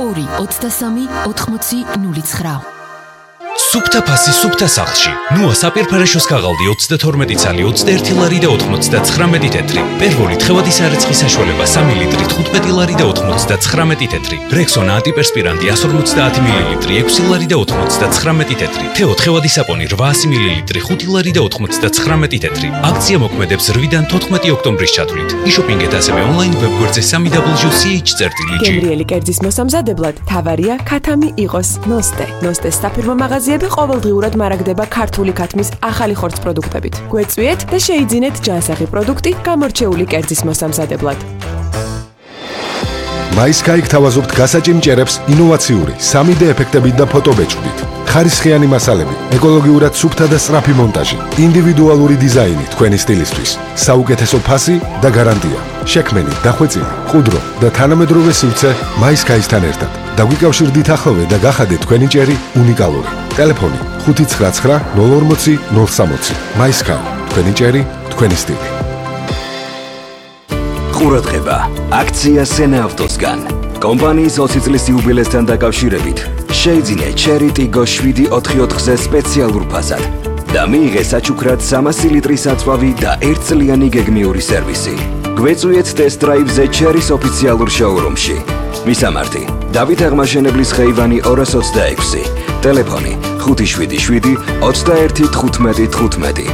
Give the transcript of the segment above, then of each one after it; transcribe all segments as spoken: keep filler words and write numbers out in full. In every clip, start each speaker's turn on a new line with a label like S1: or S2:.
S1: ორი ოცდასამი ოთხმოცი ნული ცხრა.
S2: სუფთა ფასი სუფთა სახლში. ნუა საპირფარეშოს ქაღალდი ოცდათორმეტი ცალი ოცდაერთი ლარი და ოთხმოცდაცხრამეტი თეთრი. პერვოლი თხევადი სარეცხის საშუალება სამი ლიტრი თხუთმეტი ლარი და ოთხმოცდაცხრამეტი თეთრი. რექსონა ანტიპერსპირანტი εκατს ორმოცდაათი მილილიტრი ექვსი ლარი და ოთხმოცდაცხრამეტი თეთრი. თეო თხევადი საპონი რვაასი მილილიტრი ხუთი ლარი და ოთხმოცდაცხრამეტი თეთრი. აქცია მოქმედებს რვიდან თოთხმეტი ოქტომბრის ჩათვლით. იშოპინგეთ ასევე ონლაინ ვებგვერდზე სამი დაბლ იუ სი ეიჩ წერტილი ჯი.
S3: გემრიელი კერძის მოსამზადებლად თავარია ქათამი იყოს ნოსტე. ნოსტეს საფირმო მაღაზიები ყოველდღიურად მარაგდება ქართული ქათმის ახალი ხორცს პროდუქტებით. გვეწვიეთ და შეიძინეთ ჯანსაღი პროდუქტი გამორჩეული კერძის მოსამზადებლად.
S4: MySky გთავაზობთ გასაჭიმ ჭერებს ინოვაციური სამი დე ეფექტებით და ფოტობეჭდით. ხარისხიანი მასალები, ეკოლოგიურად სუფთა და სწრაფი მონტაჟი, ინდივიდუალური დიზაინი თქვენი სტილისთვის, საუკეთესო ფასი და გარანტია. შექმენი, დახვეწილი, ყუდრო და თანამედროვე სივრცე MySky-სთან ერთად. დაგვიკავშირდით ახლოვე და გახადეთ თქვენი ჭერი უნიკალური. ტელეფონი ხუთი ცხრა ცხრა ნული ორმოცი ნული სამოცი. MySky, თქვენი ჭერი, თქვენი სტილი.
S5: ყურადღება, აქცია სენა ავტოსგან. კომპანიის ოცი წლის იუბილესთან დაკავშირებით შეიძინე ჩერი ტიგო შვიდი ოთხი ოთხზე სპეციალურ ფასად და მიიღე საჩუქრად სამასი ლიტრის აწვავი და ერთწლიანი გეგმიური სერვისი. გვეწვიეთ ტესტ დრაივზე ჩერის ოფიციალურ შოურუმში. მისამართი: დავით აღმაშენებლის ხეივანი ორას ოცდაექვსი. ტელეფონი ხუთი შვიდი შვიდი ოცდაერთი თხუთმეტი თხუთმეტი.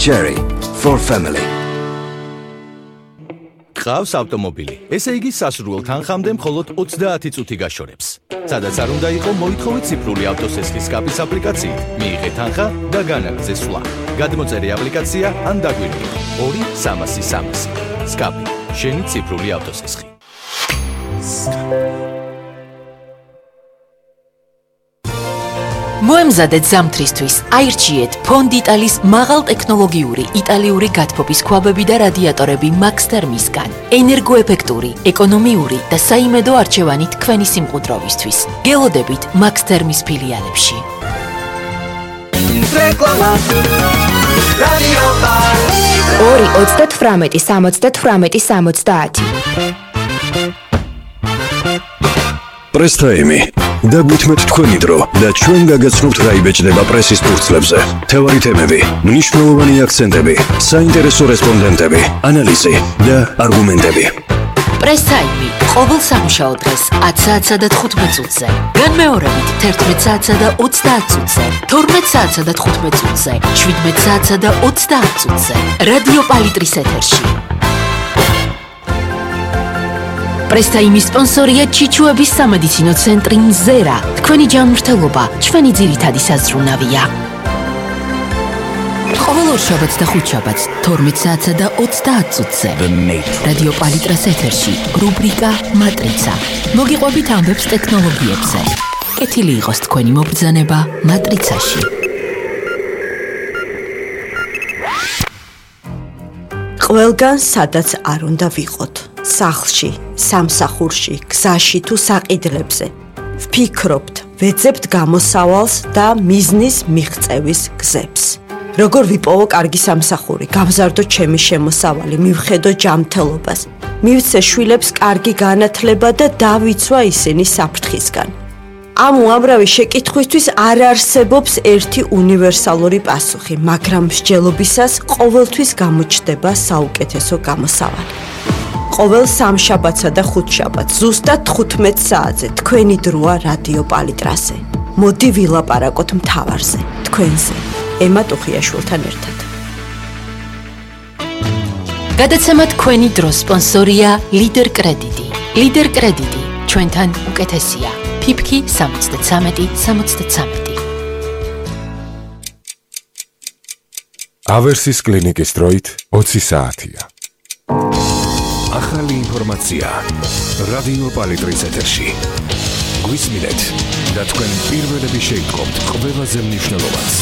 S5: Cherry for family.
S6: ყავს ავტომობილი. ესე იგი სასურველ თანხამდე მხოლოდ ოცდაათი წუთი გაშორებს. სადაც არ უნდა იყო მოითხოვე ციფრული ავტოსესხის კაპის აპლიკაციით. მიიღე თანხა და განაგრძე სვლა. გადმოწერე აპლიკაცია ან დაგვირგვინე. ორი სამასი სამასი. სკაპი, შენი ციფრული ავტოსესხი.
S1: მოემზადეთ ზამთრისთვის. აირჩიეთ ფონდიტალის მაღალტექნოლოგიური იტალიური გათბობის ქვაბები და რადიატორები Max Thermisგან. ენერგოეფექტური, ეკონომიური და საიმედო არჩევანი თქვენი სიმყუდროვისთვის. გელოდებით Max Thermis ფილიალებში.
S7: ორი ოცდათვრამეტი სამოცდათვრამეტი სამოცდაათი.
S8: პრესტაიმი. დაგვითმეთ თქვენი დრო და ჩვენ გაგაცნობთ რა იბეჭდება პრესის ფურცლებზე. თევარი თემები, მნიშვნელოვანი აქცენტები, საინტერესო რესპონდენტები, ანალიზი და არგუმენტები.
S1: პრესაიმი ყოველ სამუშაო დღეს ათი საათსა და თხუთმეტ წუთზე. განმეორებით თერთმეტ საათსა და ოცდაათ წუთზე, თორმეტ საათსა და თხუთმეტ წუთზე, შვიდმეტ საათსა და ოცდაათ წუთზე. რადიო პალიტრის ეთერში. პრესტაიმის სპონსორია ჩიჩუების სამედიცინო ცენტრი მზერა. თქვენი ჯანმრთელობა ჩვენი ძირითადი საზრუნავია. ყოველ ორშაბათს და ხუთშაბათს თორმეტ საათსა და ოცდაათ წუთზე. რადიო პალიტრას ეთერში რუბრიკა მატრიცა. მოგიყვებით ამბებს ტექნოლოგიებზე. კეთილი იყოს თქვენი მობრძანება მატრიცაში.
S9: ყველგან სადაც არ უნდა ვიყოთ. სახლში, სამსახურში, გზაში თუ საყიდლებზე. ვფიქრობთ, ვეძებთ გამოსავალს და მიზნის მიღწევის გზებს. როგორ ვიპოვო კარგი სამსახური, გავზარდო ჩემი შემოსავალი, მივხედო ჯანმრთელობას, მივცე შვილებს კარგი განათლება და დავიცვა ისინი საფრთხისგან. ამ უამრავი შეკითხვისთვის არ არსებობს ერთი უნივერსალური პასუხი, მაგრამ მსჯელობისას ყოველთვის გამოჩნდება საუკეთესო გამოსავალი. ყოველ სამშაბათსა და ხუთშაბათს ზუსტად თხუთმეტ საათზე თქვენი დროა რადიო პალიტრაზე. მოდი ვილაპარაკოთ მთავარზე, თქვენზე, ემა ტუხიაშვილთან ერთად.
S1: გადაცემა თქვენი დროს სპონსორია ლიდერ კრედიტი. ლიდერ კრედიტი ჩვენთან უკეთესია. ფიფკი სამოცდათრამეტი სამოცდათრამეტი.
S4: ავერსის კლინიკის დროით ოცი საათია.
S8: ახალი ინფორმაცია რადიო პალიტრის ეთერში. გვისმინეთ და თქვენ პირველები შეიტყობთ ყველაზე მნიშვნელოვანს.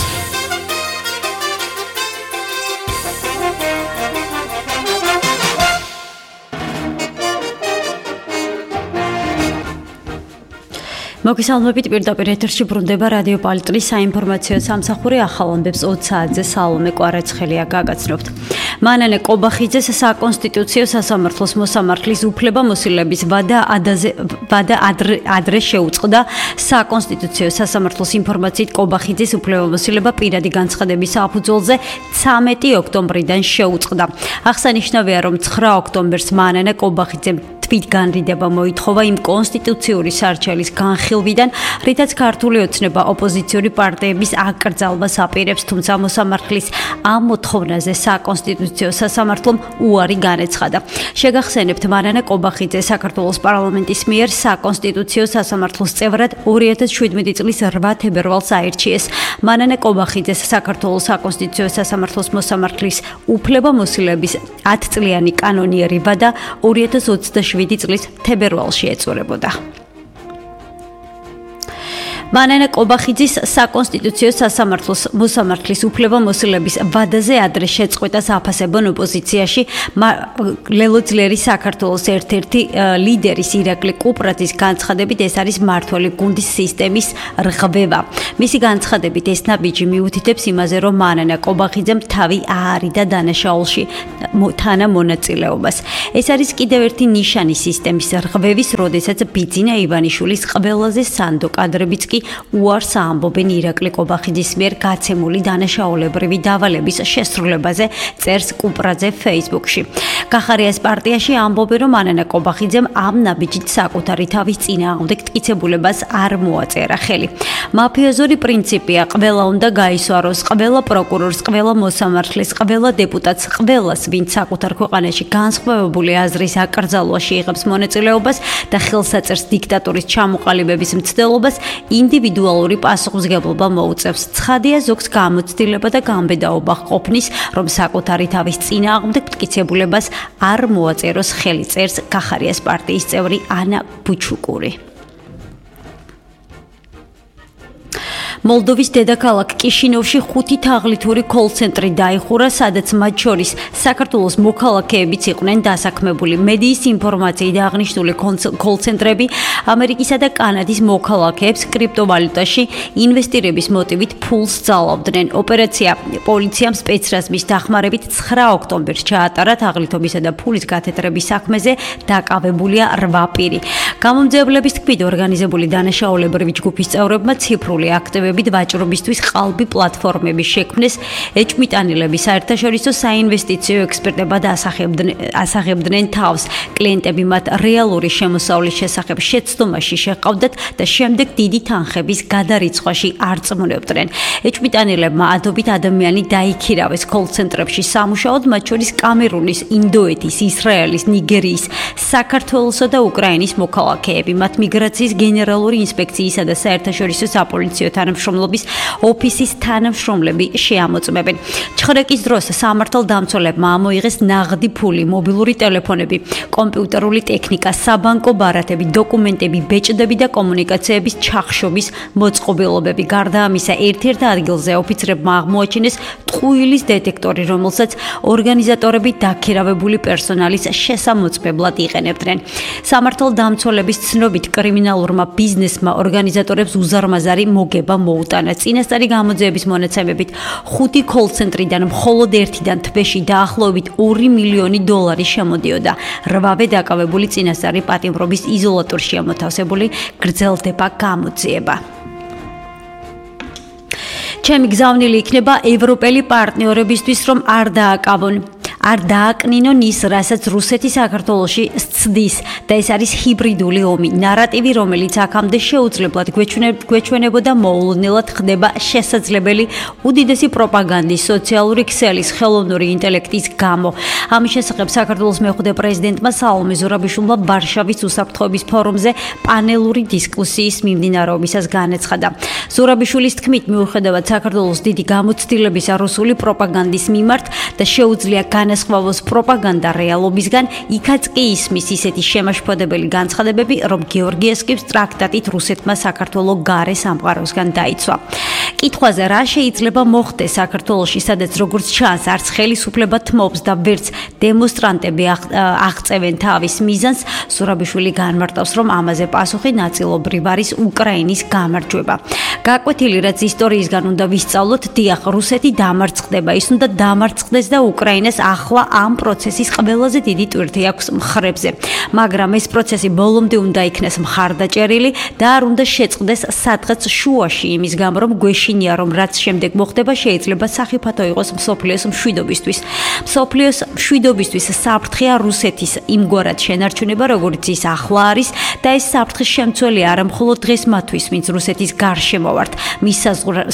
S10: მოგესალმებით, პირდაპირ ეთერში ბრუნდება რადიო პალიტრის საინფორმაციო სამსახური ახალ ამბებს ოცი საათზე სალომე კვარაცხელია გაგაცნობთ. მანანე კობახიძეს საკონსტიტუციო სასამართლოს მოსამართლის უფლებამოსილების ვადა ვადა ადრე შეუწყდა. საკონსტიტუციო სასამართლოს ინფორმაციით კობახიძის უფლებამოსილება პირადი განცხადების საფუძველზე ცამეტი ოქტომბრიდან შეუწყდა. აღსანიშნავია, რომ ცხრა ოქტომბერს მანანა კობახიძემ თვით განრიდება მოითხოვა იმ კონსტიტუციური სარჩელის განხილვიდან, რითაც ქართული ოცნება ოპოზიციური პარტიების აკრძალვას აპირებს, თუმცა მოსამართლის ამ მოთხოვნაზე საკონსტიტუციო სასამართლომ უარი განეცხადა. შეგახსენებთ, მანანა კობახიძე საქართველოს პარლამენტის მიერ საკონსტიტუციო სასამართლოს წევრად ორი ათას შვიდმეტი წლის რვა თებერვალს აირჩიეს. მანანა კობახიძეს საქართველოს საკონსტიტუციო სასამართლოს მოსამართლის უფლებამოსილების ათწლიანი კანონიერი ვადა ორი ათას ოცდაშვიდი წლის თებერვალში ეწურებოდა. მანანა კობახიძის საკონსტიტუციო სასამართლოს მოსამართლის უფლებამოსილების ვადაზე ადრე შეწყვეტა საფასებონ ოპოზიციაში ლელო ძლიერი საქართველოს ერთ-ერთი ლიდერის ირაკლი კუპრაძის განცხადებით, ეს არის მმართველი გუნდის სისტემის რღვევა. მისი განცხადებით ეს ნაბიჯი მიუთითებს იმაზე, რომ მანანა კობახიძემ თავი აარიდა დანაშაულში თანამონაწილეობას. ეს არის კიდევ ერთი ნიშანი სისტემის რღვევის, როდესაც ბიძინა ივანიშვილის ყველაზე სანდო კადრებიც კი უარს ამბობენ ირაკლი კობახიძის მიერ გაცემული დანაშაულებრივი დავალების შესრულებაზე, წერს კუპრაძე Facebook-ში. კახარიას პარტიაში ამბობენ, რომ მანანა კობახიძემ ამ ნაბიჯით საკუთარი თავის წინააღმდეგ მტკიცებულებას არ მოაწერა ხელი. მაფიოზური პრინციპია, ყველა უნდა გაისვაროს, ყველა პროკურორს, ყველა მოსამართლეს, ყველა დეპუტატს, ყველას, ვინც საკუთარ ქვეყანაში განსხვავებული აზრის აკრძალვაში იღებს მონაწილეობას და ხელსაწერს დიქტატურის ჩამოყალიბების მცდელობას, ინდივიდუალური პასუხისმგებლობა მოუწევს. ცხადია, ზოგს გამოცდილება და გამბედაობა ყოფნის, რომ საკუთარი თავის წინააღმდეგ მტკიცებულებას არ მოაწეროს ხელი, წერს კახარიას პარტიის წევრი ანა ბუჩუკური. მოლდოვის დედაქალაქ კიშინოვში ხუთი თაღლითური კოლ-ცენტრი დაიხურა, სადაც მათ შორის საქართველოს მოქალაქეებიც იყვნენ დასაქმებული. მედიის ინფორმაციით აღნიშნული კოლ-ცენტრები ამერიკისა და კანადის მოქალაქეებს კრიპტოვალუტაში ინვესტირების მოტივით ფულს ძალავდნენ. ოპერაცია პოლიციამ სპეცრაზმის დახმარებით ცხრა ოქტომბერს ჩაატარა. თაღლითობისა და ფულის გათეთრების საქმეზე დაკავებულია რვა პირი. გამომძიებლების თქმით, ორგანიზებული დანაშაულებრივი ჯგუფის წევრებმა ციფრული აქტივები ვაჭრობისთვის ყალბი პლატფორმები შექმნეს. ეჭვმიტანილები საერთაშორისო საინვესტიციო ექსპერტებად ასახებდნენ თავს. კლიენტები მათ რეალური შემოსავლის შესახებ შეცდომაში შეყავდათ და შემდეგ დიდი თანხების გადარიცხვაში არწმუნებდნენ. ეჭვმიტანილებმა ადობით ადამიანი დაიქირავეს კოლ-ცენტრებში სამუშაოდ, მათ შორის კამერუნის, ინდოეთის, ისრაელის, ნიგერიის, საქართველოსა და უკრაინის მოქალაქეები. მათ მიგრაციის გენერალური ინსპექციისა და საერთაშორისო საპოლიციო თანამშრომლობის ოფისის თანამშრომლები შეამოწმებენ. ჩხრეკის დროს სამართალდამცველებმა ამოიღეს ნაღდი ფული, მობილური ტელეფონები, კომპიუტერული ტექნიკა, საბანკო ბარათები, დოკუმენტები, ბეჭდები და კომუნიკაციების ჩახშობის მოწყობილობები. გარდა ამისა, ერთ-ერთ ადგილზე ოფიცრებმა აღმოაჩინეს ტყუილის დეტექტორი, რომელსაც ორგანიზატორები დაქირავებული პერსონალის შესამოწმებლად იყენებდნენ. სამართალდამცველების ცნობით, კრიმინალურმა ბიზნესმა ორგანიზატორებს უზარმაზარი მოგება მოუტანა. წინასწარი გამოძიების მონაცემებით, ხუთი კოლ-ცენტრიდან მხოლოდ ერთიდან თვეში დაახლოებით ორი მილიონი დოლარი შემოდიოდა. რვავე დაკავებული წინასწარი პატიმრობის იზოლატორში ამოთავსებული გრძელდება გამოძიება. ჩემი გზავნილი იქნება ევროპელი პარტნიორებისთვის, რომ არ დააკავონ არ დააკნინონ ის, რასაც რუსეთი საქართველოში სცდის და ეს არის ჰიბრიდული ომი. ნარატივი, რომელიც აქამდე შეუძლებლად გვეჩვენებოდა, მოულოდნელად ხდება შესაძლებელი უდიდესი პროპაგანდის, სოციალური ქსელის, ხელოვნური ინტელექტის გამო. ამის შესახებ საქართველოს მეხუთე პრეზიდენტმა სალომე ზურაბიშვილმა ვარშავის უსაფრთხოების ფორუმზე პანელური დისკუსიის მიმდინარეობისას განეცხადა. ზურაბიშვილის თქმით, მიუხედავად საქართველოს დიდი გამოცდილებისა რუსული პროპაგანდის მიმართ და შეუძლია განასხვავოს პროპაგანდა რეალობისგან, იქაც კი ისმის ისეთი შემაშფოთებელი განცხადებები, რომ გეორგიევსკის ტრაქტატით რუსეთმა საქართველოს გარე სამყაროსგან დაიცვა. კითხვაზე, რა შეიძლება მოხდეს საქართველოში, სადაც როგორც ჩანს, არც ხელისუფლება თმობს და ვერც დემონსტრანტები აღწევენ თავის მიზანს, ზურაბიშვილი განმარტავს, რომ ამაზე პასუხი ნაწილობრივ არის უკრაინის გამარჯვება. გაკვეთილი რაც ისტორიისგან უნდა ვისწავლოთ, დიახ, რუსეთი დამარცხდება, ის უნდა დამარცხდეს და უკრაინას ახლა ამ პროცესის ყველაზე დიდი ტვირთი აქვს მხრებზე. მაგრამ ეს პროცესი ბოლომდე უნდა იქნეს მხარდაჭერილი და არ უნდა შეწყდეს სადღაც შუაში, იმის გამო რომ გვეშინია რომ რაც შემდეგ მოხდება შეიძლება სახიფათო იყოს მსოფლიოს მშვიდობისთვის. მსოფლიოს მშვიდობისთვის საფრთხეა რუსეთის იმგვარად შენარჩუნება, როგორც ის ახლა არის და ეს საფრთხის შემცველი არა მხოლოდ დღეს მათთვის, ვინც რუსეთის გარშემო ვართ, მის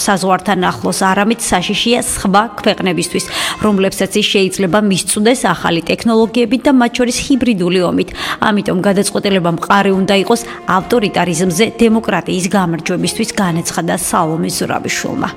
S10: საზღვართან ახლოს, არამედ საშიშია სხვა ქვეყნებისთვის, რომლებსაც ის შეიძლება მისწვდეს ახალი ტექნოლოგიებით და მათ შორის ჰიბრიდული ომით. ამიტომ გადაწყვეტილება მყარი უნდა იყოს ავტორიტარიზმზე დემოკრატიის გამარჯვებისთვის, განაცხადა სალომე ზურაბიშვილმა.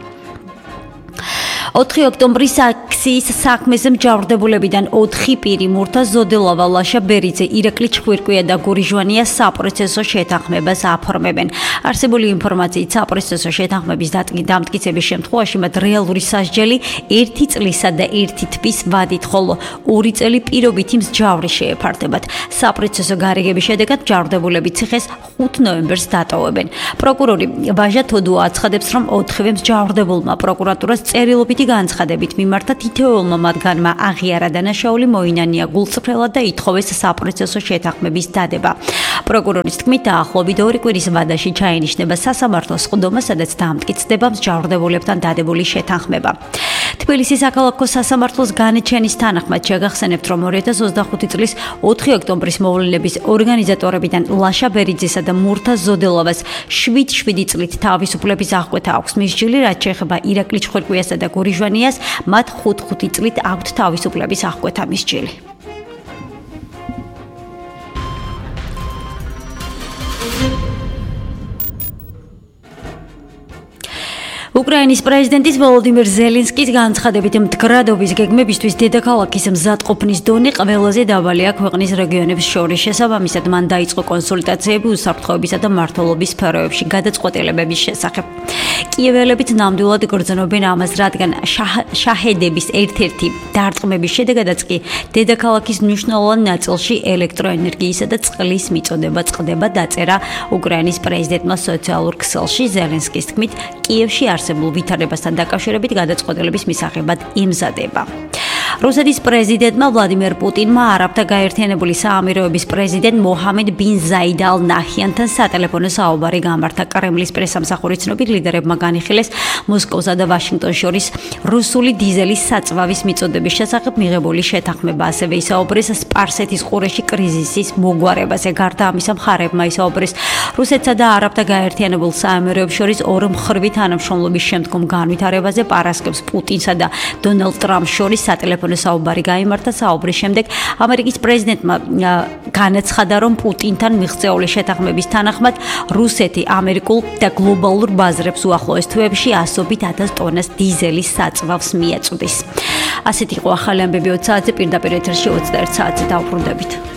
S10: ოთხი ოქტომბრის აქციის საქმეზე მჯავრდებულებიდან ოთხი პირი მურთა ზოდელავა, ლაშა ბერიძე, ირაკლი ჩხვირკვია და გური ჟვანია საპროცესო შეთანხმებას აფორმებენ. არსებული ინფორმაციით საპროცესო შეთანხმების დამტკიცების შემთხვევაში მათ რეალური სასჯელი ერთი წლისა და ერთი თვის ვადით, ხოლო ორი წელი პირობითი მსჯავრი შეეფარდებათ. საპროცესო გარიგების შედეგად მჯავრდებულები ციხეს ხუთ ნოემბერს დატოვებენ. პროკურორი ვაჟა თოდუა აცხადებს, რომ ოთხივე მსჯავრდებულმა პროკურატურას წერილობითი განცხადებით მიმართა თითოეულმა მათგანმა აღიარა დანაშაული, მოინანია გულწრფელად და ითხოვეს საპროცესო შეთანხმების დადება. პროკურორის თქმით, დაახლოებით ორი კვირის ვადაში ჩაენიშნება სასამართლოს სხდომა, სადაც დამტკიცდება მსჯავრდებულებთან დადებული შეთანხმება. თბილისის საქალაქო სასამართლოს განაჩენის თანახმად შეგახსენებთ, რომ ორი ათას ოცდახუთი წლის ოთხი ოქტომბრის მოვლენების ორგანიზატორებიდან ლაშა ბერიძესა და მურთა ზოდელავას შვიდ შვიდი წლით თავისუფლების აღკვეთა აქვს მისჯილი, რაც შეეხება ირაკლი ჩხვირკვიასა და გური ჟვანიას, მათ ხუთ ხუთი წლით აქვთ თავისუფლების აღკვეთა მისჯილი. უკრაინის პრეზიდენტის ვოლოდიმირ ზელენსკის განცხადებით, მდგრადობის გეგმებისთვის დედაქალაქის მზადყოფნის დონე ყველაზე დაბალია ქვეყნის რეგიონებს შორის. შესაბამისად, მან დაიწყო კონსულტაციები უსაფრთხოებისა და მმართველობის სფეროებში გადაწყვეტილებების შესახებ. კიეველებიც ნამდვილად გრძნობენ ამას, რადგან შაჰედების ერთ-ერთი დარტყმების შედეგადაც კი დედაქალაქის მნიშვნელოვან ნაწილში ელექტროენერგიისა და წყლის მიწოდება წყდება, დაწერა უკრაინის პრეზიდენტმა სოციალურ ქსელში. ზელენსკის თქმით, კიევში არსებულ ვითარებასთან დაკავშირებით გადაწყვეტილების მისაღებად იმზადება. რუსეთის პრეზიდენტმა ვლადიმერ პუტინმა არაბთა გაერთიანებული საამიროების პრეზიდენტ მოჰამედ ბინ ზაიდ ალ ნაჰიანთან სატელეფონო საუბარი გამართა. კრემლის პრესამსახურის ცნობით, ლიდერებმა განიხილეს მოსკოვსა და ვაშინგტონს შორის რუსული დიზელის საწვავის მიწოდების შესახებ მიღებული შეთანხმება. ასევე ისაუბრეს სპარსეთის ყურეში კრიზისის მოგვარებაზე. გარდა ამისა, მხარეებმა ისაუბრეს რუსეთსა და არაბთა გაერთიანებულ საამიროებს შორის ორმხრივი თანამშრომლობის შემდგომ განვითარებაზე. პარასკევს პუტინსა და დონალდ ტრამპს შორის სატელეფონო საუბარი გაიმართა. საუბრის შემდეგ ამერიკის პრეზიდენტმა განაცხადა, რომ პუტინთან მიღწეული შეთანხმების თანახმად რუსეთი ამერიკულ და გლობალურ ბაზრებს უახლოეს თვეებში ასობით ათას ტონას დიზელის საწვავს მიაწვდის. ასეთი იყო ახალი ამბები ოც საათზე, პირდაპირ ეთერში ოცდაერთ საათზე დავბრუნდებით.